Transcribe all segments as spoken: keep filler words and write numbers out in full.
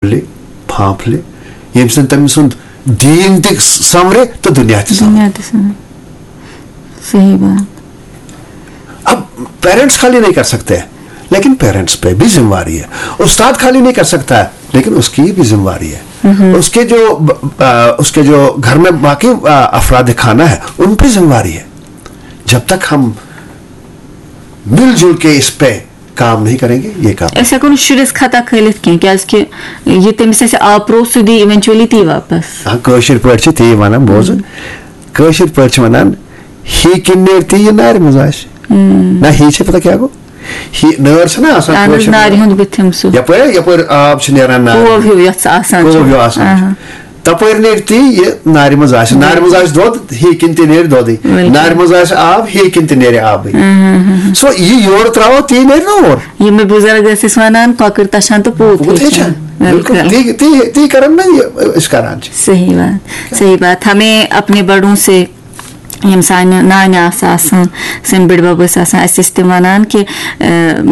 پھۄلہِ، پھانٛپھلہِ، ییٚمہِ سۭتۍ تٔمۍ سُنٛد دیٖن تہِ سمرِ تہٕ دُنیا تہِ سمرِ۔ دنیا تہِ سمجھ۔ صحیح بات۔ اب پیرنٹس خالی نہیں کر سکتے، لیکن پیرنٹس پہ بھی ذمہ واری ہے۔ استاد خالی نہیں کر سکتا ہے، لیکن اس کی بھی ذمہ واری ہے۔ اس کے جو، آ، اس کے جو گھر میں باقی، آ، افراد خانہ ہے، ان پہ ذمہ واری ہے۔ جب تک ہم مل جل کے اس پہ کام نہیں کریں گے، یہ کام أسۍ ہٮ۪کو نہٕ شُرِس خطا کھٲلِتھ کینٛہہ، کیازِ کہِ یہِ تٔمِس اَسہِ آپروو، سُہ دی ایونچولی تی واپس۔ ہاں، کٲشِر پٲٹھۍ چھِ تی وَنان، بوزُن۔ کٲشِر پٲٹھۍ چھِ وَنان، ہی کِنۍ نیرِ تی، یہِ نارِ منٛز آسہِ۔ نہ، ہی چھِ پَتہ کیٛاہ گوٚو؟ ہی نٲر چھِ نہ آسان، اہن حظ، کٲشِر نارِ پٲٹھۍ۔ ہُنٛد بُتھِم سُہ۔ یَپٲرۍ، یَپٲرۍ آب چھِ نیران نارِ۔ کوو ہیوٗ یَتھ سُہ آسان کوو چھُ۔ ہیوٗ آسان چھُ۔ آہا۔ تَپٲرۍ نیرِ تی، یہِ نارِ منٛز آسہِ۔ نارِ منٛز آسہِ دۄد، ہی کِنۍ تہِ نیرِ دۄدٕے۔ بِلکُل۔ نارِ منٛز آسہِ آب، ہی کِنۍ تہِ نیرِ آبٕے۔ سو یہِ یورٕ ترٛاوو، تی نیرِ نہ اورٕ۔ یِم مےٚ بُزرگ ٲسۍ أسۍ وَنان، کۄکٕر تَچھان تہٕ پوٗت پوٗت ہیٚچھان۔ ہیٚچھان۔ بِلکُل۔ تی، تی، تی کَران نہ یہِ أسۍ کَران چھِ۔ صحیح بات، صحیح بات۔ ہمیں اپنے بڑوں سے، یِم سانہِ نانہِ آسہٕ آسان، سٲنۍ بٔڈۍ بَب ٲسۍ آسان، اَسہِ ٲسۍ تِم وَنان کہِ، اَ،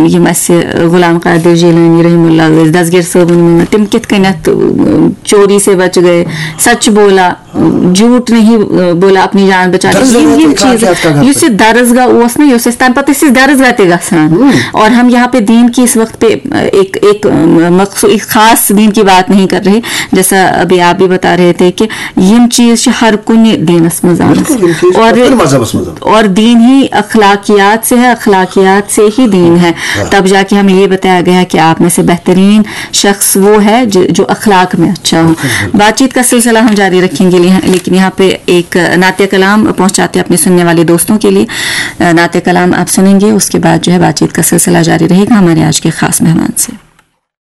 یِم اَسہِ غلام قادر جیلانی رحمہ اللہ ٲسۍ، دستگیر صٲبُن ووٚن، تِم کِتھ کٔنٮ۪تھ، اَ، چوری سے بچ گئے، سچ بولا، جھوٹ نہیں، اَ، بولا اپنی جان بچا لی۔ درسگاہ یِم، یِم تہِ کانٛہہ چیٖز، کَتھ کَتھ یُس یہِ درسگاہ اوس نہ، یہِ اوس اَسہِ تَمہِ پَتہٕ ٲسۍ أسۍ درسگاہ تہِ گژھان۔ اور ہم یہاں پہ دین کی اس وقت پہ، اَ، ایک، ایک، اَ، مخصوص، ایک خاص دین کی بات نہیں کر رہے، جیسا ابھی آپ بھی بتا رہے تھے کہ یِم چیٖز چھِ ہر کُنہِ دیٖنَس منٛز آمٕتۍ۔ بِلکُل، یِم چیٖز چھِ اور پرٛٮ۪تھ کُنہِ مذہبَس منٛز۔ اور دین ہی اخلاقیات سے ہے، اخلاقیات سے ہی دین ہے۔ تب جا کے ہمیں یہ بتایا گیا کہ آپ میں سے بہترین شخص وہ ہے جو، جو اخلاق میں اچھا ہو۔ بات چیت کا سلسلہ ہم جاری رکھیں گے، لیکن یہاں پہ ایک نعت کلام پہنچاتے ہیں اپنے سننے والے دوستوں کے لیے۔ نعت کلام آپ سنیں گے، اس کے بعد جو ہے بات چیت کا سلسلہ جاری رہے گا ہمارے آج کے خاص مہمان سے۔